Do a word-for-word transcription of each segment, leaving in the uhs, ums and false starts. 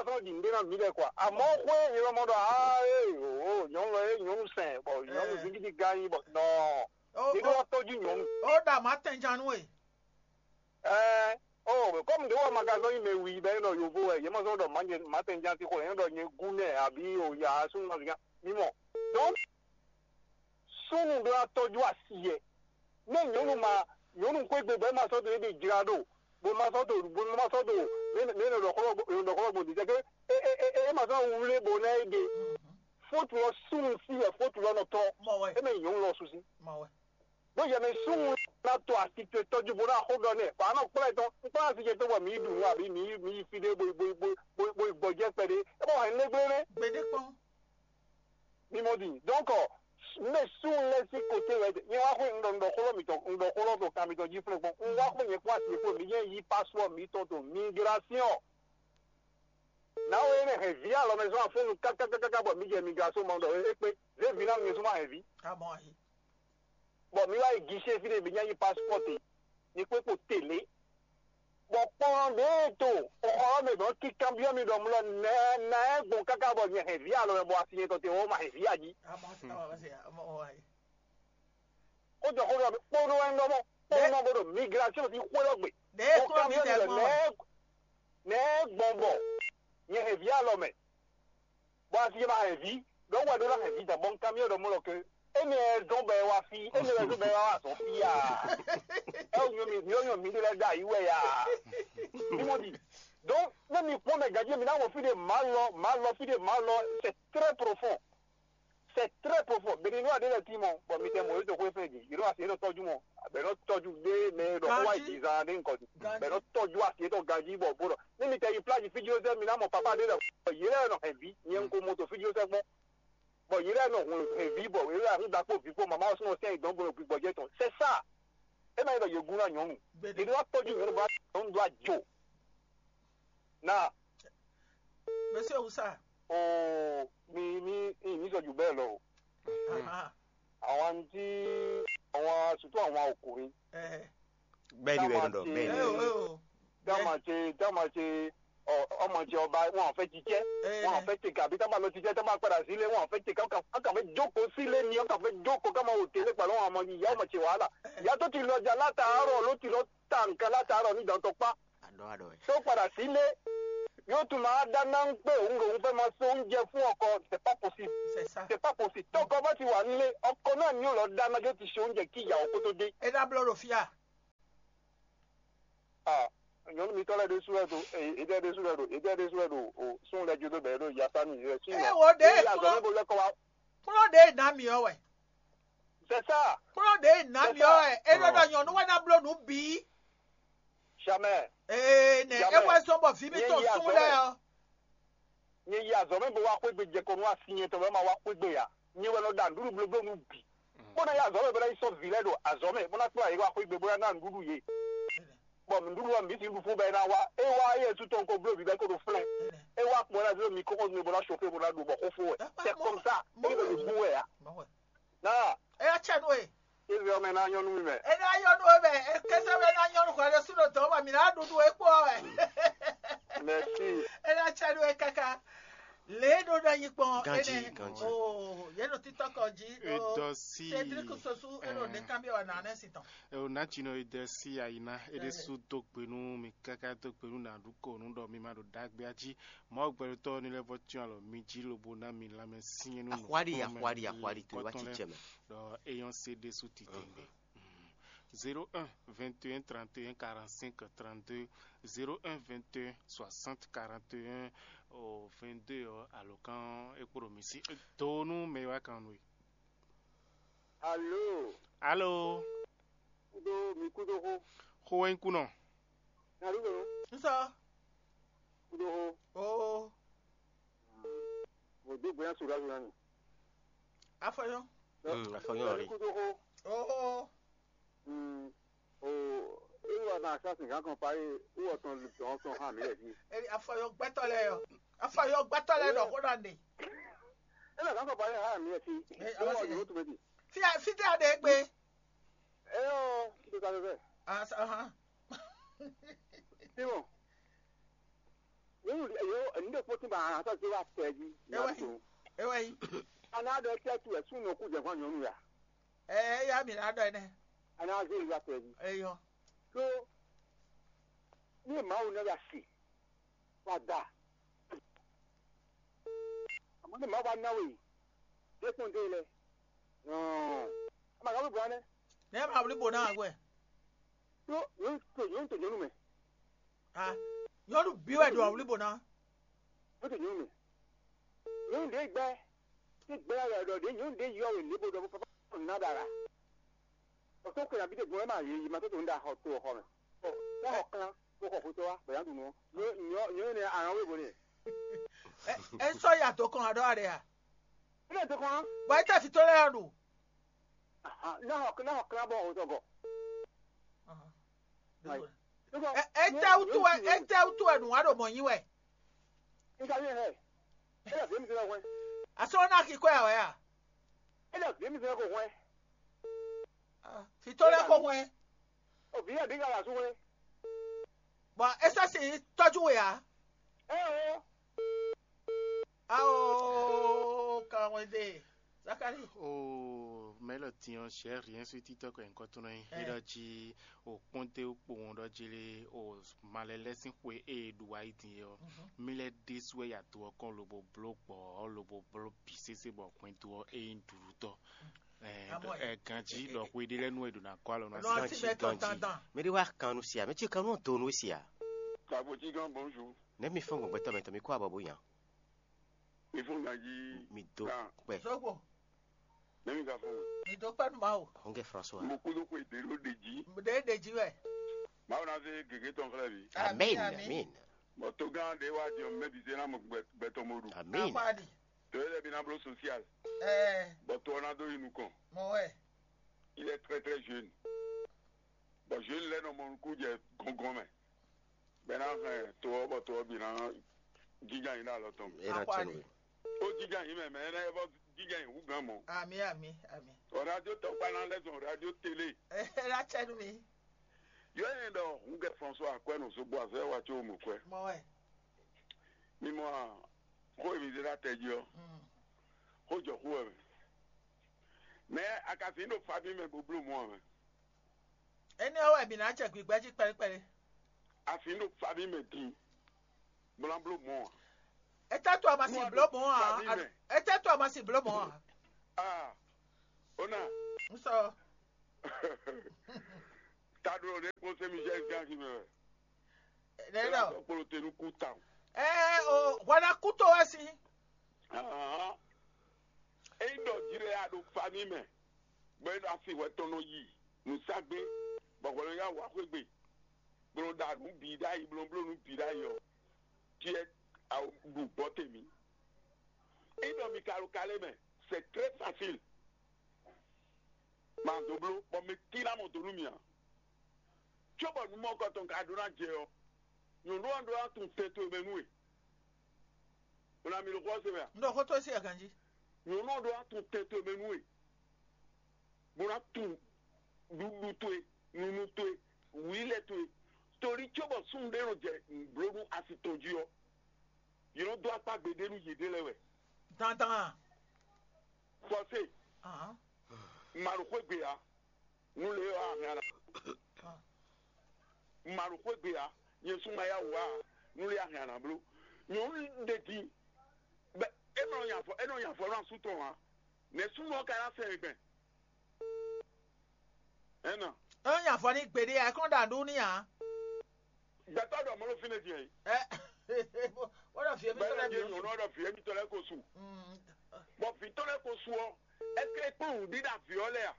nɔ ɖi nǔɖé ná mǐ lɛ́ɛ kɔ. Amɔ̌ xwé nyɛ lɔ mɔ ɖɔ aa ee o nyɔ̌nu lɔ é nyɔ̌nu sɛn bɔ nyɔ̌nu zingídi gán nyí bɔ nɔ. Ó Nyɛ ɖó wá tɔ́jú nyɔ̌nu. Ó ɖa mǎ tɛnjan nú we. Ɛɛ o kɔmi ɖé wá magazɔn yi mɛ wi bɛ nɔ yovo wɛ yɛ mɔ sɔ ɖɔ manje matɛnjan ti xɔ yɛ ɖɔ nyɛ gu nɛ abi o ya sunnu ma zika mi mɔ. Donc sunnu ɖó wá tɔ́jú asi yɛ. Ne nyɔ̌nu ma nyɔ̌nu xwé gbe bɔ é ma sɔ́ dó é ɖe jla ɖo bó ma sɔ́ dó bó ma sɔ́ dó mɛ nɔ ɖɔ xlɔ́ gbɔn ɖɔ xlɔ́ gbɔn dizɛ ke é é é é ma sɔ́ wlé bó ná é ɖe. Fótu lɔ sunnu sí wɛ fótu lɔ nɔ tɔ́. Mɔ wɛ. É mɛ nyɔ̌nu lɔ susi. Mɔ wɛ. Bó yɛ mɛ súnnu ná to asi towe tɔ́jú bó ná xó ɖɔ nɛ bɔ a nɔ kplá ɛ tɔn un kplá asi ce tó bɔ mǐ yi ɖu nǔ abǐ mǐ yi mǐ yi fí ɖé bó yi bó yi bó yi bó yi gbɔjɛ́ kpɛɖé é bɔ hɛn nɛgblénɛ́ Gbeɖé kpɔ́n. Mí mɔ din donc mɛ súnnu lɛ́ɛ sín koté wɛ nyɛ wá xwé un ɖɔ un ɖɔ xó lɔ mitɔn un ɖɔ xó lɔ to kan mitɔn jí flɛ́ kpɔ́n un wá xwé nyɛ kpɔ́n asi fó mǐ nyɛ yí passeport mǐtɔn to migration. Nǎwe énɛ́ hɛn vǐ alɔmɛ zɔn afúnnu kákákáká bɔ mǐ jɛ migration mɔ ɖɔ é kpé zé vǐ ná mi zɔn ma hɛn vǐ. Abɔn ayi. Bɔ mi wá yi guichet fí ɖé mi nya yi passeport te mi kpé kpo télé. Bɔ kpɔn ɖě e to xɔ ɔ́ mɛ dɔn kíkan byɔ́ mi ɖɔ mlɔ nɛ nɛ gbɔn káká bɔ nyɛ hɛn vǐ alɔ mɛ bɔ asi nyɛ tɔn te wɔ ma hɛn vǐ ají. Ó jɔ xó ɖɔ kpónɔ wɛ ŋɖɔ mɔ kpónɔ bó ɖo migration fi xwé ɔ́ gbe. Ɖě Bɔ kúrò mí kanbyɔ́ mi dɛ ɖɔ gbɔn nɛ wɛ. Nɛ gbɔn bɔ nyɛ hɛn vǐ alɔ mɛ. Bɔ asi ma hɛn vǐ ɖɔ wɛ ɖó ná hɛn vǐ dan bɔ un kanbyɔ́ ɖɔ mɔ lɔ ke énɛ́ dɔn bɔ ɛ wá fí énɛ́ wɛ dɔn bɔ ɛ wá wá azɔ̌ fí a ɛ wò nyɔ mi nyɔ nyɔ mi ɖe lɛ da yi wɛ ya mi mɔ di donc ne mi kpɔn mɛ gadji mi ná wɔ fí ɖe ma lɔ ma lɔ fí ɖe ma lɔ c'est très profond c'est très profond beni nɔ aɖe lɛ ti mɔ bɔ mi tɛ mɔ yóò tó xwé fɛn di yóò asi yóò tɔjú mɔ bɛ nɔ tɔjú ɖe mɛ ɖɔ kó wá yi di zan ɖe nkɔ di bɛ nɔ tɔjú asi yóò tó ganji bɔ bó ɖɔ ne mi tɛ yi plage fí jí ó sɛ mi ná mɔ papa ɖe lɛ yé lɛ nɔ hɛn vi nyɛ ŋko moto fí jí ó sɛ gbɔn bɔ yě lɛ́ɛ nɔ hun hɛn vǐ bɔ yě lɛ́ɛ hun ɖakpó vǐ kpó mama ɔ́ súnnu sɛ́n yi dɔn bó ɖo gbigbɔjɛ́ tɔn. C'est ça. É ma nyí ɖɔ yě gún ná nyɔ̌nu. Yě ɖó wá tɔ́jú nyɔ̌nu bó ná nyɔ̌nu dó ajo. Na. Monsieur Oussa. Oo mi mi mi mi sɔ ju bɛɛ lɔ o. Àwọn àǹtí àwọn surtout àwọn ọkùnrin. Bẹ́ẹ̀ ni bẹ́ẹ̀ ni dọ̀ bẹ́ẹ̀ ni. Táwọn ṣe táwọn ṣe ọmọ ṣe ọba wọn ò fẹ́ ṣiṣẹ́ wọn ò fẹ́ ṣe kàbí táwọn lọ ṣiṣẹ́ táwọn padà sílé wọn ò fẹ́ ṣe káwọn kàn fẹ́ jókòó sílé ni wọn kàn fẹ́ jókòó káwọn ò tẹ́lẹ̀ pẹ̀lú àwọn ọmọ ìyá ọmọ ṣe wàhálà ìyá tó ti lọ jà látàárọ̀ ló ti lọ ta nǹkan látàárọ̀ ní ìdántọ́ pa tó padà sílé yóò tún máa dáná ń pé òun lòun fẹ́ máa so oúnjẹ fún ọkọ c'est pas possible c'est pas possible tọkọ bá ti wà nílé ọkọ náà ni yóò lọ dáná yóò ti ṣe oúnjẹ kí ìyàwó kó tó dé. Ẹ dá blọ́ lò fíà. Ah, nyɔnu mitɔ lɛ ɖésú wɛ ɖo ede ɖésú wɛ ɖo ede ɖésú wɛ ɖo o sun lɛ jo ɖo bɛ ɖo yasanu yɛ si. Ɛ wo ɖe kplɔ kplɔ ɖe na mi ɔ wɛ. C'est ça. Kplɔ ɖe na mi ɔ wɛ. E ɖɔ ɖɔ nyɔnu wɛ na blo nu bi. Jamais. Ee ne e wɛ zɔn bɔ vi mi to sun lɛ ɔ. Nyɛ yi azɔ̌ mɛ bó wá xwé gbe jɛ kɔ nú asi nyɛ tɔn bɔ é ma wá xwé gbe ǎ. Nyɛ wɛ nɔ ɖa nǔɖuɖu blóbló nú bǐ. Bó ná yi azɔ̌ mɛ bó ná yi sɔ́ vǐ lɛ́ɛ ɖo azɔ̌ mɛ bó ná kplá yě wá xwé gbe bó ná ná nǔɖuɖu yě. Bɔ nǔɖuɖu ɔ́ mǐ sixú ɖu fún bɔ é ná wá. É wá yɛ sú tɔn ko bló bǐ bɔ é ko ɖo flɛ́n. É wá kpɔ́n ná zé mi kókó nú bó ná sofé bó ná ɖu bɔ xó fó wɛ. C'est comme ça. É ɖo ɖo bú wɛ ǎ. Náà. É yá cɛ nú e. Israel mɛ ná nyɔ́ nú mi mɛ. É ná nyɔ́ nú e mɛ. É kɛsɛ mɛ ná nyɔ́ nú hwɛ ɖé sú ɖo dɔ̌ bɔ mǐ ná ɖu nú e kpó ɔ́ wɛ. Merci. É ná cɛ nú e káká. Lě e ɖó ná nyi kpɔn Ganji, énɛ́. Ganji. Oh, yě ɖo títɔ́ kɔ jí. Edɔ sí. Cédric Sosu é ɖo ɖe kanbyɔ́ wɛ nǎ nɛ́ si tɔn. Eo nátsinɔ e dɛ sí ayina é ɖésú dó gbe nú mi káká dó gbe nú nǎɖúkɔ nú ɖɔ mi ma ɖo ɖagbe jí. Mawu gbɛɖotɔ́ ní lɛ́ vɔ cyɔ́n alɔ mi jí lobo ná mi lanmɛ syɛ́n nú Axwali, axwali, axwali, to wá cicɛ mɛ. Ɖɔ eyɔ́n se ɖésú titewungbe. Zéro un vingt et un trente et un quarante-cinq trente-deux, zéro un vingt et un soixante quarante et un vingt-deux ɔ́ alɔkán é kpo ɖo mi sí. Do nú mɛ e wá kan nú we. Alo. Alo. Kudo mi kudo xo. Xo wɛ nyí kunɔ. Alo. Nsɔ. Kudo xo. Oo. Mo do bonya sura sura ni. Afɔyɔ. Mm, afɔyɔ ri. Kudo xo. Oo. Mm. O ewa na sa sin kan kan pa e wo tɔn dɔn tɔn ha mi lɛ fi. Eri afɔyɔ gbɛtɔ lɛ yɔ. Afɔyɔ gbɛtɔ lɛ dɔ ko na ne. E na kan kan pa e ha mi lɛ fi. E awa se. Fi fi te ade gbe. E o ki to ka fɛ. Asa ha. Ti mo. Wo yo Kpótín ba ahan sɔ́ zé wá tɛ jí. É wɛ nyí. É wɛ nyí. Ana ɖɔ tɛ tu wɛ súnnu kú jɛ hɔn nyɔnu ya. Ɛ é yá mi ná ɖɔ ɛnɛ. Ana zé wá tɛ jí. Eyɔ. Ɖó ní Mawu nɔ ya si wá da. Àmọ́ ní Mawu bá ná we dé kpɔ́n dé lɛ. Ama ka wí bɔ anɛ. Nɛ ma wlí bo ná wɛ. Ɖó nyɔnu to nyɔnu to nyɔnu mɛ. Ah, nyɔnu bí wɛ ɖo awlí bo ná. Nyɔnu to nyɔnu mɛ. Nyɔnu ɖé gbɛ. Tí gbɛ yɛ ɖɔ ɖé nyɔnu ɖé yɔ wɛ lé bo ɖɔ bo papa ná ɖa la. Ɔtɔn kwe na bi ɖe gbɔn ma yé yi ma tó tó ń da xɔ to xɔ mɛ. Ɔ, ná xɔ klán bó xɔ xotɔ wa bɛ̀yà dùn nɔ. Nyɔ nyɔ nyɔ ne àwọn wé bo ne. É sɔ́ ya tó kɔn aɖɔ aɖe a? Ilé tó kɔn. Bɔ é tɛ fi tó lɛ yɔ ɖu. Ná xɔ ná xɔ klán bó xɔ xotɔ gɔ. Ɛ é tɛ wútu wɛ é tɛ wútu wɛ nǔ wa ɖo mɔ nyi wɛ. Nígbà yẹn hẹ. Ẹ lọ fi mi sẹ́yìn kọ́ ẹ. Asọ́ náà kí kọ́ ẹ̀ wẹ́ à? Ẹ lọ fi mi sẹ́yìn kọ́ ẹ. Fi tó lẹ́ kó hwẹ́. Òbí yẹn bí gàlà sún wẹ́. Bɔn é sɔ́ sì tɔ́jú we ǎ. Ẹ o. Ao kan wɛn de. Zakari. O mɛlɔ tiɲɔ sɛ rien sur titɔ kɔ nyikɔ tɔn nɔ nyi. Ɛ ɖɔ jí o kpɔnte o kpowun ɖɔ jí lé o malɛ lɛ sín xwe e ɖu wa yi din yɔ. Mi lɛ ɖésú wɛ ya to ɔkɔn lobo bló gbɔ lobo bló bi sese bɔ hwɛndo ɔ e nyí ɖuɖutɔ. Ɛ ganjí ɖɔ xwe ɖé lɛ nú e ɖo ná kɔ alɔ nɔ asi. Ganjí ganjí. Mɛ ɖé wá kan nú sia mɛ cí kan nú donu sia. Kabo cí gán bonjour. Nɛ mi fɔn gbɔgbɛtɔ mɛ tɔ mi kó abɔ bó yan. Mi fún ganjí. Mi dó pɛ. Sɔgbɔ. Nɛ mi ka fún. Mi dó pɛ numa o. Xɔnkɛ François. Mo kúdó kó ìdè ló ɖe jí. Mo ɖe ɖe jí wɛ. Màá wò ná fẹ́ gègé tɔn xlẹ́ mi. Amen. Amen. Bɔn tógán ɖé wá di ɔmọ mɛbi zé ná mɔ gbɛtɔ mo ɖu. Amen. Akwadi. Tó yẹ lɛ bi ná bló social. Ɛɛ. Bɔn tó ɔ́ ná dó yi nukɔn. Mɔ wɛ. Il est très très jeune. Bɔn jeune lɛ nɔ mɔ nukún jɛ gɔngɔn mɛ. Bɛ ná hɛn to ɔ́ bɔ to ɔ́ bǐ ná jínjɔ́n ayǐ ɖo alɔ tɔn mɛ. É ná tɛ́ nú we. Ó jínjɔ́n ayǐ mɛ, mɛ énɛ́ é bɔ jínjɔ́n ayǐ hú gǎn mɔ̌. Ami, ami, ami. Ɔ radio tɔkpa ná lɛ́ zɔn radio télé. É ná tɛ́ nú mi. Yɔ ɛn ɖɔ hun kɛ François akwɛ nɔ zogbo azɔ yɛ wa tso mo kwɛ. Mɔ wɛ. Mi mɔ a, xó e mi zé ɖo atɛ jí ɔ́, xó jɔ xó wɛ mɛ. Mɛ a ka zǐn ɖo fabí mɛ bó bló mɔ ɔ́ mɛ. Énɛ́ ɔ́ wɛ mǐ ná jɛ gbǐgbɛ́ jí kpɛɖékpɛɖé. A fin ɖo fami mɛ din, bó ná bló mɔ̌ ǎ. Étɛ́ tó a ma sin bló mɔ̌ ǎ? Étɛ́ tó a ma sin bló mɔ̌ ǎ? Ah, ó ná. Un sɔ. Taɖo ɖé kpɔ́n sɛ́ mi jẹ́ gán jí mɛ. Nɛ̌ ɖɔ? Kpolo te nú kú tawun. Ɛɛ o, hwɛ ná kú tó wɛ sín. Ényí ɖɔ jlɛ a ɖo fami mɛ, bɔ é ɖo asi hwɛ tɔn nɔ yi nǔsagbe, bɔ hwɛ nɔ yá wǎ xwé gbe, bó nɔ ɖa nǔ bǐ ɖ'ayǐ, bó nɔ bló nǔ bǐ ɖ'ayǐ ɔ́, tiɛ a ɖu gbɔ te mǐ. Ényí ɖɔ mi ka ɖo kalé mɛ, c'est très facile. Ma dó bló, bɔ mi tín ná mɔ do nú mì ǎ. Cóbɔ nǔ mɔkɔtɔn ka ɖó ná jɛ ɔ́, nyɔ̌nu ɔ́ ɖó ná tunwun tɛn towe mɛ nú we. Un ná mi ɖo xó ɔ́ se mɛ a? Un ɖɔ xó towe sí aganjí. Nyɔ̌nu ɔ́ ɖó ná tunwun tɛn towe mɛ nú we, bó ná tunwun ɖuɖu towe, nunu towe, wǐlɛ towe. Torí cóbɔ súnnu ɖé nɔ jɛ nǔbló nú asi tɔn jí ɔ́, yě nɔ dó akpá gbeɖé nú yěɖée lɛ́ɛ wɛ. Dandan a? Fɔsé. Ahán. Màɖo xwé gbe ǎ. Nú lě ɔ́, a hɛn a nǎ. Ah. Màɖo xwé gbe ǎ. Nyɛ sú ma yá wǔ ǎ. Nú lě a hɛn a nǎ bló. Nyɔ̌nu ɖe din. Bɛ é nɔ nya avɔ é nɔ nya avɔ nú asú tɔn ǎ. Nɛ̌ súnnu ɔ́ ka ná sɛn gbɛn? Ɛnɔ. É nɔ nya avɔ ní gbeɖé ǎ, é kɔn ɖo aɖú n'i ǎ. Gbɛtɔ́ ɖɔ mɔ̌ ɖo fínɛ́ din ɛ? Ɛ, wọ́n ɖɔ fìyɛ mi tɔn lɛ bìí. Nyɔ̌nu ɔ́ ɖɔ fìyɛ mi tɔn lɛ ko su. Bɔ vǐ tɔn lɛ ko su ɔ́, ɛkɛ kpɔ́n nǔɖiɖa vǐ ɔ́ lɛ a?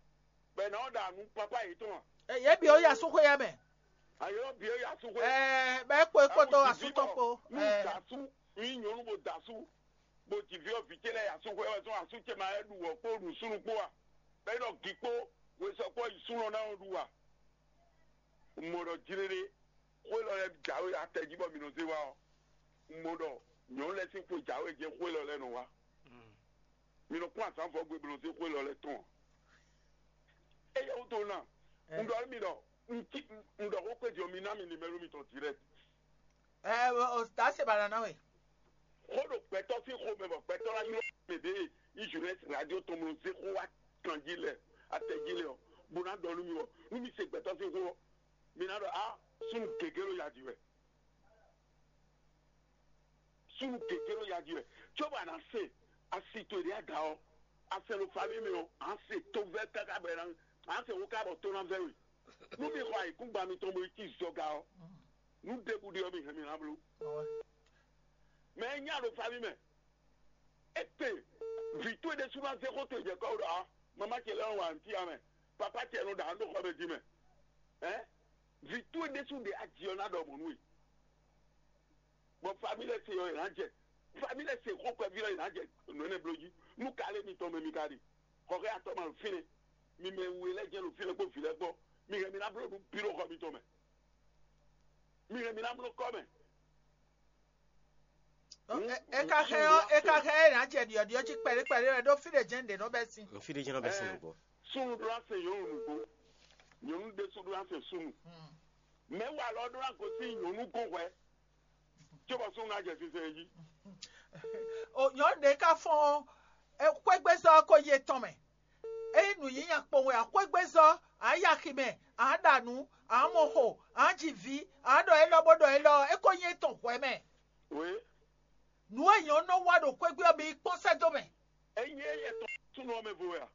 Bɛ ná ɔ́ ɖa nú pápá yětɔn a? Ɛ, yě bǐ ó yi asúxwé yɛ mɛ. Ayɔ bǐ ó yi asúxwé. Ɛ, bɛ é kpo é kpódó asú tɔn kpo. Ɛ, asú nyí nyɔ̌nu bó da asú, bó ji vǐ ɔ́, vǐ ce lɛ́ɛ yi asúxwé wɛ zɔ́n asú ce ma lɛ́ ɖu wɔ̌ kpó ɖu súnnu kpó a? Bɛ é ɖɔ gǐ kpó hwesɔ kpó yi súnnu ɔ́ ná nɔ ɖu a? Un mɔ ɖɔ jlé ɖé, xó élɔ́ lɛ́ɛ jǎwe atɛ jí bɔ mi nɔ zé wá ɔ́, un mɔ ɖɔ nyɔ̌nu lɛ́ɛ sín xwe jǎwe jɛ́n xó élɔ́ lɛ́ɛ nɔ wá. Mi nɔ kpɔ́n azǎn vɔ̌gbé bó nɔ zé xó élɔ́ lɛ́ɛ tɔn ǎ. Éyɛ́ wútu ná, un ɖɔ nú mi ɖɔ un cí un ɖɔ xó kpé din ɔ́, mi ná mi nimɛ́lo mitɔn dirɛ́kt. Ɛ, o, o, ta se ba nana we. gbɛtɔ́ sín xomɛ bɔ gbɛtɔ́ ná ylɔ́ mɛ ɖě Israɛl radio tɔn mlɔ zé xó wá kan jí lɛ atɛ jí lɛ ɔ́, bó ná ɖɔ nú mi ɔ́, nú mi se gbɛtɔ́ sín xó ɔ́, mi ná ɖɔ a súnnu gěgé ɖo ya jí wɛ. Súnnu gěgé ɖo ya jí wɛ. Cóbɔ a nǎ se asi towe ɖě a da ɔ́, a sɛ ɖo famille mɛ ɔ́, a nǎ se tovɛ́ káká bɔ a nǎ se xó ká bɔ tó ná vɛ́ we. Nú mi xɔ ayǐkúngban mitɔn bo yi cí zɔga ɔ́, nú ɖěbǔ ɖe ɔ́ mi hɛn mi ná bló. Mɛ e nya ɖo famille mɛ, é te vǐ towe ɖésú ná zé xó towe jɛ kɔ́ wú ɖɔ a mamá ce lɛ́ɛ nɔ wa nǔ cyá mɛ, papá ce nɔ ɖa nǔ ɖo xɔ mɛ din mɛ. Ɛ vǐ towe ɖésú ɖe aji ɔ́ ná ɖɔ mɔ̌ nú we. Bɔ famille lɛ́ɛ se ɔ́ è nǎ jɛ famille lɛ́ɛ se xó kpɛví ɔ́ è nǎ jɛ nǔ énɛ́ bló jí. Nú ka lé mitɔn mɛ mi ka ɖe? Xɔxɛ atɔ́ ma ɖo fínɛ́. Mi mɛ we lɛ́ɛ jɛ́n ɖo fínɛ́ kpó vǐ lɛ́ɛ kpó. Mi hɛn mi ná bló nǔ bǐ ɖo xɔ mitɔn mɛ. Mi hɛn mi ná bló kɔ́ mɛ. É ka xɛ ɔ́ é ka xɛ é nǎ jɛ ɖiɔɖiɔ jí kpɛɖé kpɛɖé wɛ ɖó fí ɖé jɛ́n ɖě nɔ bɛ́ sin. Fí ɖé jɛ́n nɔ bɛ́ sin nǔgbó. Súnnu ɖó ná se nyɔ̌nu nǔgbó. Nyɔ̌nu ɖésú ɖó ná se súnnu. Mɛ̌ wa lɔ ɖó ná gosín nyɔ̌nu gɔ́n hwɛ̌. Cóbɔ súnnu ná jɛ sinsɛn jí. Nyɔ̌nu ɖě ka fɔ́n xwégbézɔ́ ko yi etɔn mɛ. Ényí nǔnyínya kpowun wɛ ǎ, xwégbézɔ́, ǎ yi axi mɛ, ǎ ɖa nǔ, ǎ mɔ xo, ǎ ji vǐ, ǎ ɖɔ élɔ́ bó ɖɔ élɔ́ ɔ́, é ko nyí étɔn hwɛ̌ mɛ. Nǔ e nyɔ̌nu nɔ wa ɖo xwé gbe ɔ́, mi yi kpɔ́n sɛ́ dó mɛ. Ényí é yɛ tɔn súnnu ɔ́ mɛ vo wɛ a?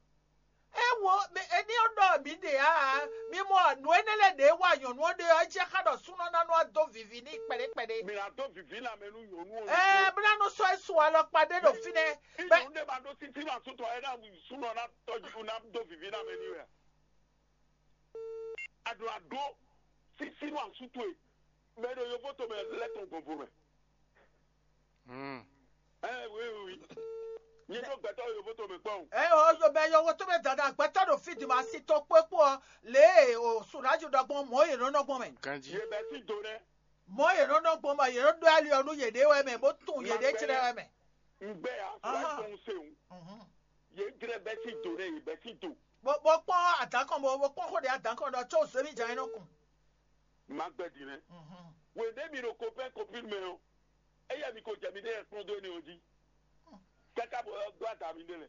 É wo mi- é ní ɔ́ ɖɔ mǐ ɖe ǎ ǎ. Mi mɔ nǔ énɛ́ lɛ́ɛ ɖě wa nyɔ̌nu ɔ́ ɖe ɔ́, é jɛ xá ɖɔ súnnu ɔ́ ná nɔ wá dó vivi n'i kpɛɖé kpɛɖé. Mi ná dó vivi lanmɛ nú nyɔ̌nu ɔ́. Ɛɛ bó ná nɔ sɔ́ é su alɔkpa ɖé ɖo fínɛ́. Ní Bɛ- nyɔ̌nu ɖé ma ɖó títí ma sútɔ ɛ ná súnnu ɔ́ ná tɔjú ná dó vivi lanmɛ n'i wɛ a? Aɖo aɖó sísí nú asú towe mɛ e ɖo yovo tomɛ lɛ́ tɔn gbɔnvo mɛ. Ɛ wi wi wi. Nyi ɖó gbɛtɔ́ yovo tomɛ kpɔ́n. Ɛ o yo bɛ yɔwo to bɛ dada gbɛtɔ ɖo fi di ma si to kpó kpó ɔ lě e o suraju ɖɔ gbɔn mɔ yě nɔ nɔ gbɔn mɛ. Ganji. Yě bɛ sí do nɛ. Mɔ yě nɔ nɔ gbɔn bɔ yě nɔ ɖó ali ɔ nú yě ɖe wɛ mɛ bó tun yě ɖe tlɛ wɛ mɛ. N gbɛ ya fɔ Aha. Tɔn se o. Mhm. Yě jlɛ bɛ sí do nɛ yě bɛ sí do. Bó bó kpɔn adǎn kɔn bó bó kpɔn xó ɖe adǎn kɔn ɖɔ tso zémi jan é nɔ kun. Má gbɛ din nɛ. Wěɖé mi ɖo copain copine mɛ ɔ́, eya mi ko jɛ mi ɖe yɛ kplɔ́n dó énɛ́ ɔ́ jí. Káká bɔ ɔ́ gbá da mi ɖé lɛ.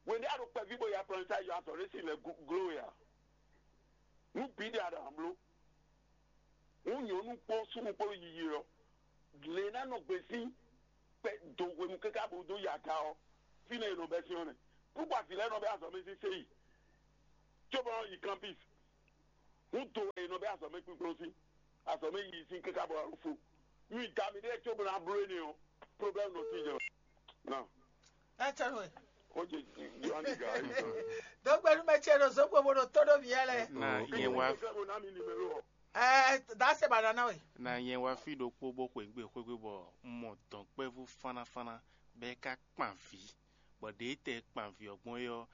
Wěɖé a ɖo kpɛví bɔ ya plɔn sa yɔ azɔ̌ ɖé si lɛ gló ya. Nú bǐ ɖe a ɖo amló. Hǔn nyɔ̌nu kpó súnnu kpó yiyi ɔ́, lě e ná nɔ gbe sín kpɛ do hwenu káká bó dó yi aga ɔ́, fínɛ́ è nɔ bɛ́ sín ɔ́ nɛ́. Kúkú avǐ lɛ́ɛ nɔ bɛ́ azɔ̌ mɛ sín séyi, cóbɔ nɔ yi kanpis. Hǔn do wɛ è nɔ bɛ́ azɔ̌ mɛ kpíkplɔ́n sín, azɔ̌ mɛ yiyi sín káká bó wá fo. Nú da mi ɖéeɛ cóbɔ ná bló énɛ́ ɔ́, problème nɔ sí jɛ. Nɔ. Ɛ tɛ nɔ. Ó jẹ Yohane ga ayi sọ. Dɔgbɛnu mɛ tiɛ ɖo zɔn gbogbo ɖo tó ɖo mǐ lɛ. Na yɛn wá. Fẹ́ mo ná mi numéro ɔ. Ɛ dase ba nana we. Na yɛn wá fí ɖokpó bó xweyǐgbe xwégbe bɔ un mɔ dɔ̌nkpɛvú fánnáfánná bɔ é ká kpan vǐ, bɔ ɖě tɛ kpan vǐ ɔ́ gbɔn é ɔ́,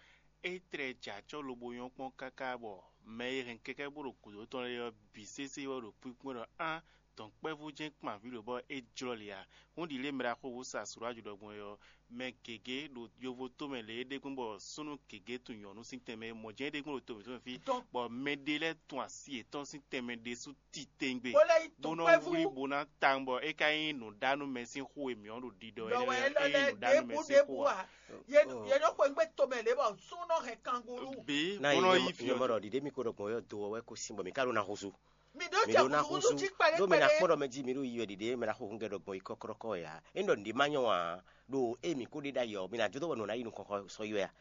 é tlɛ jɛ acɔ́ lobo nyɔ́ kpɔ́n káká bɔ mɛ e hɛn kɛkɛ́ bó ɖo gǔdo tɔn lɛ́ɛ ɔ́ bǐ sésé wɛ ɖo kpínkpɔ́n ɖɔ á dɔ̌nkpɛvú jɛ́n kpan vǐ lǒ bɔ é jlɔ́ lě ǎ. Hún ɖi lě mɛ ɖaxó wú sa Suraju ɖɔgbɔn é ɔ́, mɛ gěgé ɖo yovo tomɛ lě é ɖe gbɔn bɔ súnnu gěgé tunwun nyɔ̌nu sín tɛnmɛ é mɔ jɛ́n é ɖe gbɔn ɖo to mǐtɔn mɛ fí, bɔ mɛ ɖé lɛ́ɛ tun asi yětɔn sín tɛnmɛ ɖésú titewungbe, bó nɔ wlí bó ná tawun bɔ é ka nyí nǔɖánúmɛ sín xó e mǐ ɔ́ ɖo ɖiɖɔ é nyí nǔɖánúmɛ sín xó ǎ. Yě nɔ xweyǐgbe tomɛ lě bɔ súnnu nɔ hɛn kangúlú. Bǐ bó nɔ yí fí ɔ́. Ɖiɖe mi ko ɖɔ gbɔn yɔ do ɔ́ wɛ ko sin bɔ mi ka ɖo na huzu. Mi ɖó jɛ kukuɖu jí kpɛɖé kpɛɖé. Ɖó mi na kpɔ́ ɖɔ mɛ jí mi ɖo yi wɛ ɖiɖe mɛ na xo húngɛ ɖɔ gbɔn yi kɔ́kɔ́kɔ́ ya. É ɖɔ nǔɖé ma nyɔ ǎ. Ɖo ée mǐ ko ɖe ɖ'ayǐ ɔ́, mi ná jó dó bɔ nǔ ná yi nukɔn xɔ sɔ yi wɛ a?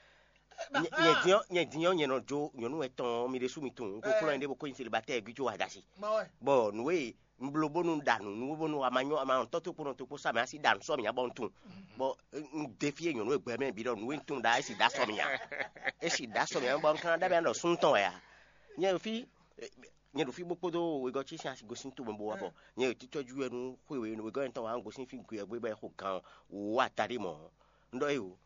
Nyɛ din ɔ́, nyɛ din ɔ́, nyɛ nɔ jó nyɔ̌nu etɔn ɔ́, mi ɖésú mi tunwun. Un ko kplɔ́n nyɛ ɖé bó ko nyi selibátɛ́ gbíjó adashi. Bɔ nǔ e un bló bónú un ɖa nǔ nú bónú a ma nyɔ́ a ma tɔ́ tó kpónɔ tó kpó sá mɛ a sí ɖa nǔ sɔ́ mǐ nya bɔ un tunwun. Bɔ un ɖe fí e nyɔ̌nu e gbɛ mɛ bǐ ɖɔ nǔ e un tunwun ɖa é sì ɖa sɔ́ mǐ nya. É sì ɖa sɔ́ mǐ nya bɔ un ka ná ɖɔ mǐ nya ɖɔ súnnu tɔn wɛ a? Nyɛ ɖo fí nyɛ ɖo fí bó kpódó wegɔ́ ce sín asi gosín to mɛ bó wá bɔ nyɛ ɖo títɔ́jú wɛ nú xwé wě wegɔ́ nyɛ tɔn wá un gosín fí gbe ɔ́ gbé bɔ é xo gan wǒ ataɖé mɔ̌. Un ɖɔ éyo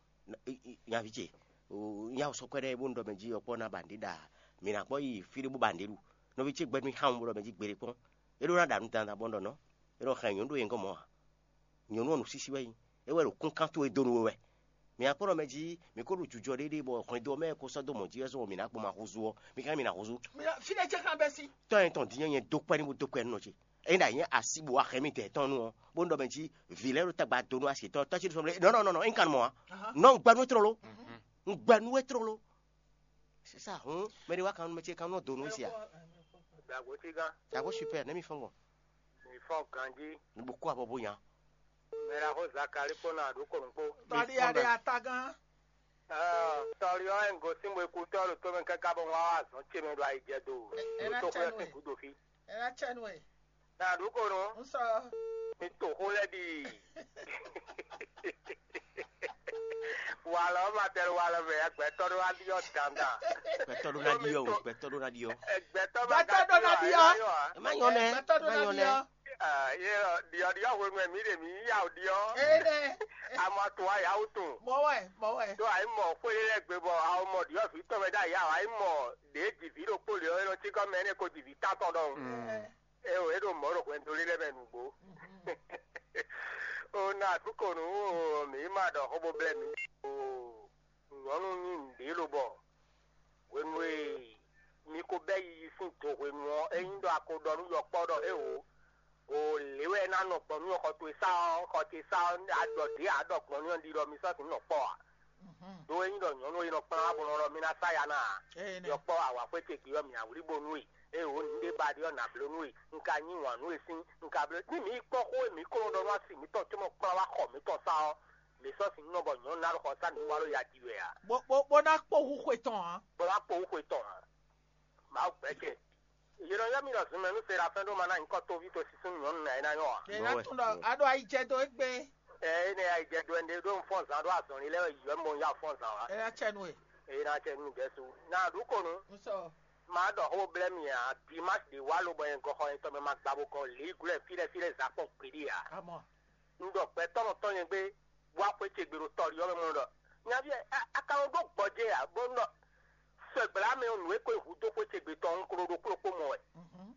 nyaví ce, nya sɔkpɛ́ ɖɛ́ bó un ɖɔ mɛ jí ɔkpɔ́ ná ba nǔɖé ɖa mǐ ná kpɔ́ yi fí ɖé bó ba nǔɖé ɖu. Nɔví ce gbɛ́ nú xá ɔ́ bó ɖɔ mɛ jí gbeɖé kpɔ́n. É ɖó ná ɖa nǔ dandan bɔ un ɖɔ nɔ́. É nɔ xɛn nyɔ̌nu ɖó nyɛ gɔ́ mɔ̌ ǎ. Nyɔ̌nu ɔ́ nǔsísí wɛ nyí. É wɛ ɖo kúnkan towe dó nú we wɛ. Mǐ ná kpɔ́ ɖɔ mɛ jí mǐ ko ɖo jujɔ ɖé ɖe bɔ hwɛndo ɔ́ mɛ ko sɔ́ dó mɔ̌ jí wɛ zɔ́n bɔ mǐ ná gbɔn ma húzú ɔ́, mǐ ka mǐ ná húzú. Fínɛ́ jɛ xlán bɛ́ sí. Tɔ́ nyɛ tɔn din nyɛ nyɛ dó kpɛ́ ní bó dó kpɛ́ nú nɔ ce. Ényí ɖo anyí asi bó wá hɛn mì dɛ̌ tɔn nu ɔ́, bó ɖɔ mɛ jí vǐ lɛ́ɛ ɖo tagba dó nú asi tɔn tɔ́ cí ɖo sɔmlɛ. Non, non, non, non, un kan mɔ ǎ. Non, un gbɛ nú we tlóló. Un gbɛ nú we tlóló. C'est ça, hǔn mɛ ɖé wá kan nú mɛ ce kan nú dó nú we sia. Dàgbò tí gán. Dàgbò super, nɛ́ mi fɔ́n gbɔn. Mi fɔ́n ganjí. Mi bo kó abɔ bó nya. Mɛ ɖaxó Zakali kpó ná ɖó kɔnu kpó. Tɔɖi aɖe atagán. Tɔlí ɔ́, é un gosín bo kú tɔ́ ɖo tómɛ káká bɔ un wá wá azɔ̌ ce mɛ ɖo ayijɛ do. Ɛ ná Ɖo tó cɛ xwé nú ɛ. Gúdo fí. Ɛ ná cɛ nú ɛ. Ná ɖó kɔnu. Un sɔ. Mi to xó lɛ́ɛ ɖi. Walɔ ma tɛ walɔ mɛ ya gbɛtɔ ɖó wá ɖiɔ dandan. Gbɛtɔ ɖó ná ɖiɔ o, gbɛtɔ ɖó ná ɖiɔ. Gbɛtɔ ma Gbɛtɔ ɖó ná ɖiɔ. Ɛ má nyɔ nɛ, Gbɛtɔ ɖó má ná nyɔ nɛ. Ɖiɔ. Yé ɖiɔ ɖiɔ hwenu ɛ mí ɖe mí yá o ɖiɔ. Ee nɛ. Amɔ tún wa yá o tún. Mɔ wɛ, mɔ wɛ. Tó ayi mɔ xwé lɛ gbé bɔ awo mɔ ɖiɔ vǐ tɔn mɛ ɖo ayá o ayi mɔ ɖě jivǐ ɖokpó lě ɔ́ é nɔ cí kɔ mɛ énɛ́ ko jivǐ tátɔn ɖɔhun. Ee. É o é ɖo mɔ̌ ɖo hwɛndo lé lɛ́ɛ mɛ nǔgbó. O na àdúkò nǔ o mǐ ma ɖɔ xó bó blɛ́ mǐ o. Nyɔ̌nu nyí nǔɖé lobɔ hwenu e mi ko bɛ́ yiyi sín do hwenu ɔ́, é nyí ɖɔ a ko ɖɔ nú yɔkpɔ́ ɖɔ éwo, o lě wɛ é ná nɔ gbɔn nú xɔ towe sá ɔ́, xɔ ce sá ɔ́, a ɖɔ ɖě a ɖɔ gbɔn nú ɔ́ ɖiɖɔ mi sɔ́ sǐn nɔ kpɔ́ ǎ. Ɖó é nyí ɖɔ nyɔ̌nu e nɔ kplɔ́n wá bo nɔ ɖɔ mì ná sá ya ná ǎ. Yɔkpɔ́ awǎxwé ce gbe ɔ́, mǐ awlí bo nú we, ée wǒ nǔɖé ba ɖe ɔ́, nǎ bló nú we, un ka yí wǎn nú we sín, un ka bló. Ní mǐ yi kpɔ́n xó e mǐ ko nɔ ɖɔ nú asi mǐtɔn cóbɔ kplɔ́n wá xɔ mǐtɔn sá ɔ́, mǐ sɔ́ sin nú nɔ bɔ nyɔ̌nu ná ɖo xɔ sá nǔ wá ɖo ya ji wɛ ǎ. Bó bó bó ná kpó hú xwe tɔn ǎ. Bó ná kpó hú xwe tɔn ǎ. Mawu gbɛ́ ce. Yě nɔ ylɔ́ mì ɖɔ zunmɛ nú Serafɛ́n ɖó ma ná nyǐkɔ tóví to sísún nyɔ̌nu nǎ é ná nyɔ́ ǎ. Yě ná Bó wɛ. Tún ɖɔ a ɖo ayi jɛ dó égbé. Ɛ énɛ́ ayi jɛ dó ɛnɛ ɖó un fɔ́n zǎn ɖó azɔ̌lin lɛ́ɛ wɛ yǐyɔ́ mɔ un yá fɔ́n zǎn wá. É ná cɛ nú ɛ. Eye ná cɛ nú Jɛsu. Ná ɖu kɔnu. Un sɔ. Má ɖɔ xó blɛ́ mi ǎ, dimási ɖě wá lobɔ nyɛ gɔxɔ nyɛtɔn mɛ ma gba bo gɔn lǐ glɔ́ fí ɖɛ́ fí ɖɛ́ zǎkpɔ́n gbeɖé ǎ. Amɔ. Un ɖɔ gbɛtɔ́ nɔ tɔn nyɛ gbé, bó wá xwé ce gbe ɖo tɔlí ɔ́ mɛ mɔ ɖɔ, nyaví ɛ, a- a ka nɔ ɖó gbɔjɛ́ ǎ, bó nɔ sɔgbla mɛ ɔ́, nǔ e ko nyi hǔ dó xwé ce gbe tɔn ɔ́, un ko ɖo ɖokpló kpó mɔ wɛ.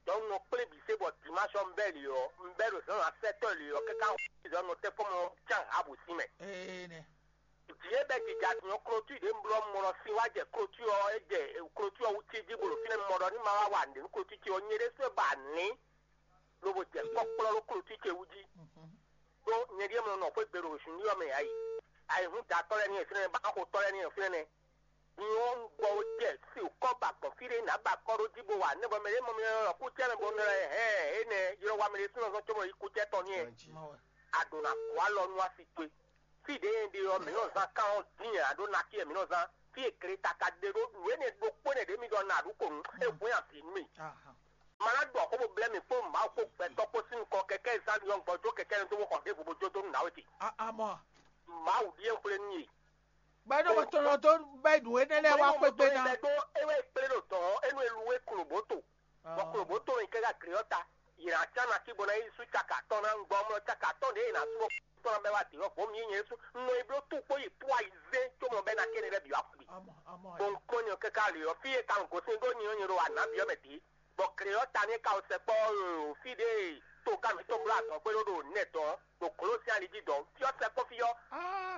Dɔ̌n un nɔ kplé bǐ se bɔ dimási ɔ́ un bɛ́ lě ɔ́, un bɛ́ ɖo zǎn asɛtɔ́ lě ɔ́, káká zɔ nɔ tɛ́ fɔ́n mɔ cán Ahabu sín mɛ. Ee nɛ. Jǐ e bɛ́ jija din ɔ́, klotú ɖě un bló ɔ́, un mɔ ɖɔ sin wá jɛ klotú ɔ́, é jɛ klotú ɔ́ wú cí jí, bó ɖo fínɛ́, un mɔ ɖɔ ní ma wá wa nǔɖé nú klotú ce ɔ́, nyɛ ɖésú wɛ ba nǐ, lobo jɛ kpɔ́kplɔ́ ɖó klotú ce wú jí. Ɖó nyɛ ɖíe mlɔ nɔ xwé gbe ɖo zunɖí ɔ́ mɛ ǎ yi. Ayǐhúndatɔ́ lɛ́ɛ ní e fínɛ́, báxotɔ́ lɛ́ɛ ní e fínɛ́. Din ɔ́, un gbɔ ó jɛ si kɔ́ ba gbɔn fí ɖé nǎ ba kɔ́ ɖó jí bó wa nɛ́ bɔ mɛ ɖě mɔ mì lɔ kúcɛ́ mɛ bó nɔ lɛ́ hɛn énɛ́ ylɔ́ wa mɛ ɖésúnɔ zɔn cóbɔ yi kúcɛ́ tɔn n'i wɛ. A ɖǒ ná gɔ́ alɔ nú asi towe. Fí ɖě e ɖe ɔ́, mǐ nɔ zán kán ɔ́ dín ǎ ɖó ná fí e mǐ nɔ zán. Fí e gleta ka ɖe ɖó nǔ énɛ́ ɖokpó énɛ́ ɖě mi ɖɔ nǎ ɖu kǒ nú é hwɛ́n avǐ nú mì. Ma ná ɖɔ xó bó blɛ́ mì kpó Mawu kpó gbɛtɔ́ kpó sín nukɔn kɛkɛ́ zán mi ɔ́ gbɔjó kɛkɛ́ nɔ dó bó xɔ ɖěvo bó jó dó nú nǎwe ce. Amɔ. Mawu ɖíe xwlé nú yě. Gbɛɖówó tɔn nɔ dó bɛ́ nǔ énɛ́ lɛ́ɛ wá xwé gbe ná. Bɛ́ dó é wɛ kplé ɖo dɔ̌n ɔ́, é nú e lu é klobǒ to. Bɔ klobǒ to nyi kɛ́ gá gle ɔ́ ta. Yě ná cá ná cí bó ná yi sú caka atɔ́ɔ́n ná gbɔ mlɔ caka atɔ́ɔ́n ɖě è nǎ sú ɔ́ tɔn ná bɛ́ wá dǐ ɔ́, vɔ̌ mǐ nyɛ sú un nɔ yi bló tú kpó yi pú ayi zé có mɔ bɛ́ ná kéne lɛ́ɛ bǐ wá xwé. Bó un kpɔ́n nyɛ káká lě ɔ́, fí e ka un gosín ɖó nyi ɔ́ nyɛ ɖo wǎ nǎ byɔ́ mɛ dě. Bɔ gle ɔ́ ta nɛ́ ka wɛ sɛkpɔ́ ɔ́, fí ɖě e toga mǐtɔn bló adɔ̌ gbé ɖó ɖo nɛ dɔn ɖo glǒ sín ali jí dɔn, fí ɔ́ sɛkpɔ́ fí ɔ́,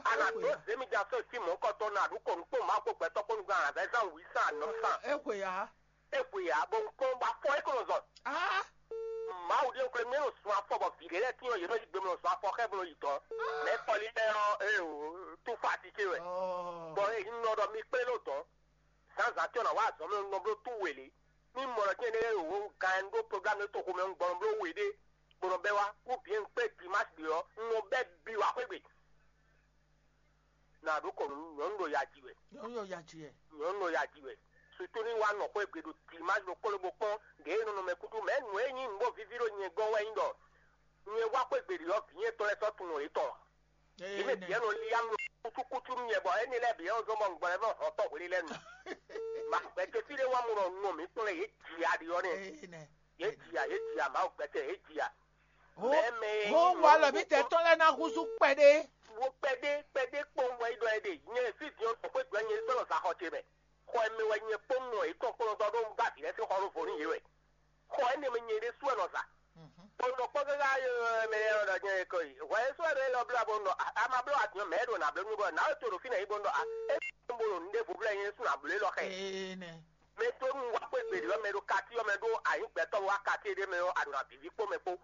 a nǎ dó zě mì jɛ asɔ́ fí mɔ̌hunkɔtɔn ná ɖu kɔ nukpó Mawu kpó gbɛtɔ́ kpó nukún azǎn zán wǐ sán anɔ̌ sán. É xwe ǎ. É xwe ǎ, bɔ un kpɔ́n bɔ afɔ é ko nɔ zɔn. Mawu ɖíe xwle mì é nɔ sun afɔ bɔ vǐ ɖé lɛ́ɛ tín ɔ́, yě nɔ yí gbe mɔ sun afɔ xá bó nɔ yi dɔ̌n. Mɛ kɔli lɛ́ɛ ɔ́, é o, túfɔ ati ce wɛ. Bɔ é nɔ ɖɔ mi kplé ɖó dɔ̌n. Zǎnzǎn tɔn ná wá azɔ̌ mɛ nɔ bló tú wělé. Ní mɔ ɖɔ jɛ́n ɖé wǒ gan ɖó programme ɖé toxo mɛ un gbɔn bló we ɖé, bó nɔ bɛ́ wá, ou bien un kpé dimanche ɖě ɔ́, un nɔ bɛ́ bi wá xwé gbe. Nǎ ɖó kɔ nǔ, nyɔ̌nu ɖo ya ji wɛ. Nyɔ̌nu ɖo ya ji wɛ. Nyɔ̌nu ɖo ya ji wɛ. Sutu ní wá nɔ xwé gbe ɖo dimanche ɖokpó lobó kpɔ́n ɖě e nɔ nɔ mɛ kúkú mɛ nǔ e nyí nǔ bó víví ɖo nyɛ gɔ́n wɛ nyí ɖɔ nyɛ wá xwé gbe ɖě ɔ́, vǐ nyɛ tɔn lɛ́ɛ sɔ́ tunwun yětɔn ǎ. Yě mɛ bǐ nɔ líyá mì kútúkútú nú nyɛ bɔ énɛ́ lɛ́ɛ bǐ ɔ́ zɔ́n bɔ un gbɔ lɛ́ vɔ́ hɔn tɔn hwelélɛ́nu. Ma gbɛtɔ́ fí ɖé wá mɔ ɖɔ nɔ mǐ kplɔ́n yě ji aɖi ɔ́ nɛ́. Yě ji a, yě ji a, Mawu gbɛtɔ́ yě ji a. Mɛ mɛ e Hó nyí wɔ alɔ mǐtɛn tɔn lɛ́ɛ ná húzú kpɛɖé. Wo kpɛɖé kpɛɖé kpɔ́n wɛ é ɖɔ é ɖe. Nyɛ fí din ɔ́, nɔ xwé gblɔ nyɛ sɔ́ nɔ za xɔ ce mɛ. Xɔ e mɛ wɛ nyɛ kpó nɔ yě tɔn kplɔ́n dɔ ɖó un ba vǐ lɛ́ɛ sín xɔ ɖó vo nú yě wɛ. Xɔ énɛ́ mɛ nyɛ ɖésú wɛ nɔ za. Bɔ un nɔ kpɔ́n káká mɛ lɛ́ɛ ɖɔ nyɛ ko yi. Hwɛ é sɔ́ ɖo élɔ́ blá bó nɔ a ma bló adyɔ̌ mɛ é ɖo nǎ bló nú bɔ nǎwe to ɖo fínɛ́ yí bó nɔ a é bo ɖo nǔɖé vo blɛ́ nyɛ ɖésú nǎ bló élɔ́ xɛ. Ee nɛ. Mɛ e dó nú wá xwé gbe ɖě ɔ́, mɛ e ɖo kati ɔ́ mɛ ɖó anyǐgbɛ́tɔ́ wá kati éɖée mɛ ɔ́, a ɖo nǎ víví kpó mɛ kpó.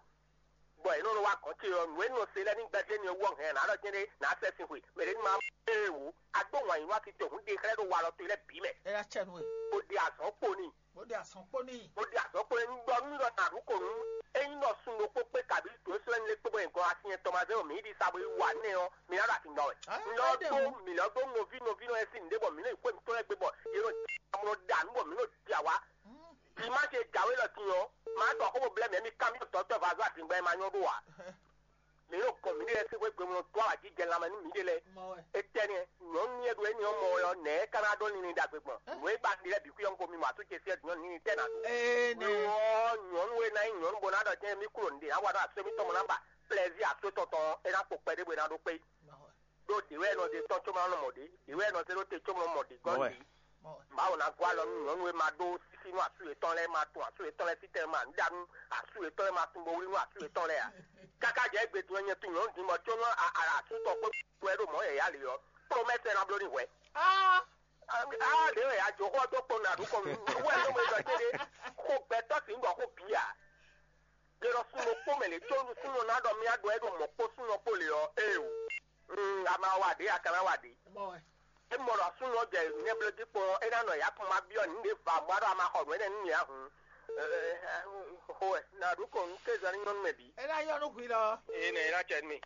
Bɔ è nɔ ɖo wá gɔ̌n ce ɔ́, nǔ e nɔ se lɛ́ɛ ní gbɛjé ni ɔ́ wú ɔ́, hɛn nǎ ɖɔ jɛ́n ɖé nǎ sɛ sin xwe. Mɛ ɖě ní ma ée wǒ. A dó wǎn yí nú akitɔ́ hǔn ɖe xlɛ́ ɖo walɔ towe lɛ́ɛ bǐ mɛ. É ná cɛ nú we. Bó ɖe azɔ̌ kpo n'i. Bó ɖe azɔ̌ kpo n'i. Bó ɖe azɔ̌ kpo n'i. Un ɖɔ nú ɖɔ nǎ ɖu ko nú. Ényí nɔ sun ɖokpó kpé kabǐ dǒ sɔ́ ɛnlé kpé bɔ nyɛ gɔn asin nyɛ tɔn ma zé bɔ mǐ yi ɖi sa bó yi wa nɛ́ ɔ́, mi ná ɖo atin ɖɔ wɛ. Ah, Un ɖɔ é ɖe dó hǔn. Mǐ lɔ dó nɔví nɔví nɔ e sín nǔɖé bɔ mǐ nɔ yi xwé mǐtɔn lɛ́ɛ gbe bɔ yě nɔ amlɔ ɖa nǔ bɔ mǐ nɔ ɖi awǎ. Vǐ má ce jǎwe lɔ din ɔ́, má ɖɔ xó bó blɛ́ mǐ, mi kanbyɔ́ dɔ̌tɔ́ vazɔ́ aɖǐngba e ma nyɔ́ ɖó ǎ. Mǐ ɖo gɔn mǐɖée lɛ́ɛ sín xwé gbe mɔ dó awǎjijɛ lanmɛ nú mǐɖée lɛ́ɛ. Mɔ wɛ. Étɛ́nɛ́, nyɔ̌nu e ɖo énɛ́ ɔ́ mɔ wɛ ɔ́, nɛ̌ é ka ná ɖó linlin ɖagbe gbɔn? Nǔ e ba ɖi lɛ́ɛ bǐ xwí ɔ́, un ko mi mɔ atú ce fí ɔ́, nyɔ̌nu ní tɛ́ ná ɖó. Ee, nɛ. Lo ɔ́, nyɔ̌nu e ná nyí nyɔ̌nu bó ná ɖɔ jɛ́n mí klo nǔɖé ná wa ɖó asú émítɔn mɔ ná ba plɛ́zí asú tɔn tɔn ɔ́, é ná kpo kpɛɖé bó é ná ɖó kpé. Mɔ wɛ. Ɖó ɖě wɛ è nɔ zé tɔn có ma nɔ mɔ ɖě, ɖě wɛ è nɔ zé ɖó te có ma nɔ mɔ ɖě gɔ́n Mɔ wɛ. Ɖě. Mɔ wɛ. Mawu ná gɔ́ alɔ nú nyɔ̌nu e ma ɖó sísí nú asú yětɔn lɛ́ɛ, ma tun asú yětɔn lɛ́ɛ sí tɛnmɛ, ma nǔ ɖa nú asú yětɔn lɛ́ɛ, ma tunwun bo wlí nú asú yětɔn lɛ́ɛ ǎ. Káká jɛ égbé din ɔ́, nyɛ tunwun nyɔ̌nu din bɔ có nú a- a- asú tɔn kpé wɛ ɖo mɔ̌ yɛ̌yɛ́ ali ɔ́, promɛ́sɛ ná bló ní hwɛ. Ah, Á ɖě wɛ a jǒ xó ɔ́ dó kpɔ́n nǔ aɖǔkɔ nú wɛ nú mɛ ɖɔ céɖé xo gbɛtɔ́ sǐ ŋgɔ xó bǐ ǎ. Ɖé lɔ súnnu kpó mɛ lě có súnnu ná ɖɔ mì aɖɔ é ɖo mɔ̌ kpó súnnu kpó lě ɔ́, éeǒ. Ama wa ɖě a ka ná wa ɖě. Mɔ wɛ. É mɔ ɖɔ súnnu ɔ́ jɛ nyɛblɔ́ jí kpɔ́n ɔ́, é ná nɔ yǎkun ma byɔ́ nǔɖé va mɔ aɖɔ a ma xɔ nǔ énɛ́ nú mì ǎ hǔn. Xo wɛ nǎ ɖu kɔn nú kézɔ ní nyɔ́nu mɛ bǐ. É ná yɔ nú hwi lɔ. Ée nɛ é ná cɛ nú mì.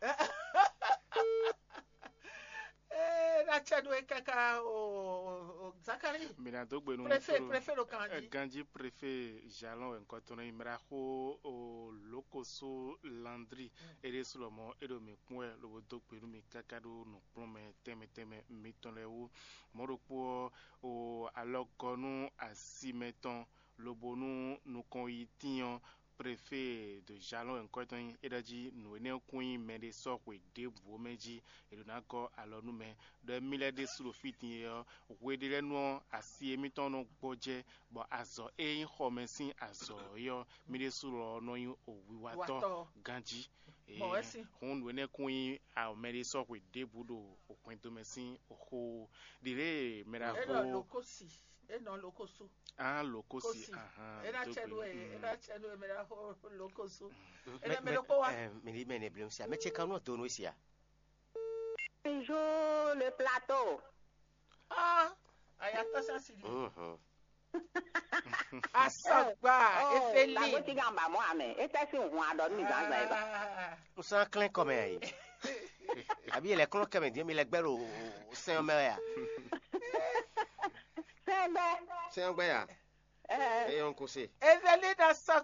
Ee, ná cɛ nú é káká o, o, o Zakari. Mi ná dó gbe nú Préfet, préfet ɖo kan jí. Ganji préfet Jalon wɛ ŋkɔ tɔn nɔ nyi mraxo o Lokoso Landri. Eɖe su lɔmɔ eɖo mi kpɔn wɛ lobo dó gbe nú mi káká ɖó nǔkplɔ́nmɛ tɛnmɛ tɛnmɛ mitɔn lɛ́ɛ wú. Mɔ̌ ɖokpó ɔ́, o alɔgɔ́ nú asi mɛtɔn lobo nú nukɔn yi tín ɔ́, préfet de Jalon wɛ ŋkɔ tɔn nyí. É ɖɔ jí nǔ énɛ́ kún nyí mɛɖé sɔ́ xwe ɖěbǔ mɛ jí è ɖǒ ná gɔ́ alɔ nú mɛ. Ɖɔ émí lɛ́ɛ ɖésú ɖo fí din é ɔ́, hweɖélɛ́nu ɔ́, asi émítɔn nɔ gbɔjɛ́, bɔ azɔ̌ e nyí xɔmɛ sín azɔ̌ é ɔ́, mí ɖésú lɔ nɔ nyí wiwatɔ́ Wiwatɔ́. Ganjí. Bɔ wɛ sín. Hǔn nǔ énɛ́ kún nyí mɛɖé sɔ́ xwe ɖěbǔ ɖo hwɛndo mɛ sín xó. Ɖǐlée mɛ ɖa É nɔ xó. Lokosi, é nɔ lokosu. Ah, lokosi. Kosi. Ahán, É ná cɛ nú ɛ, é ná cɛ nú ɛ mɛ ɖa xó lokosu. É nɛ mɛ ɖokpó wa. Mɛ ɖi mɛ ne blem sia. Mɛ ce kan nɔ do nú sia. Bonjour le plateau. Ah, ayatɔ sa si di. Mhm. Asɔgba, efeli. Lago ti gan ba mɔ amɛ. E tɛ si hun adɔ mi zan zan ba. Ah. N sɔ́ ná klɛ́n kɔ mɛ a yi. Àbí yɛ lɛ klɔ́n kɛ mɛ dín mi lɛ gbɛ́ ɖo sɛn ɔ́ mɛ wɛ a? Sɛn bɛ. Sɛn ɔ́ gbɛ ya? Ɛ. Eye ɔ́ ń kó se. Efeli ná sɔ́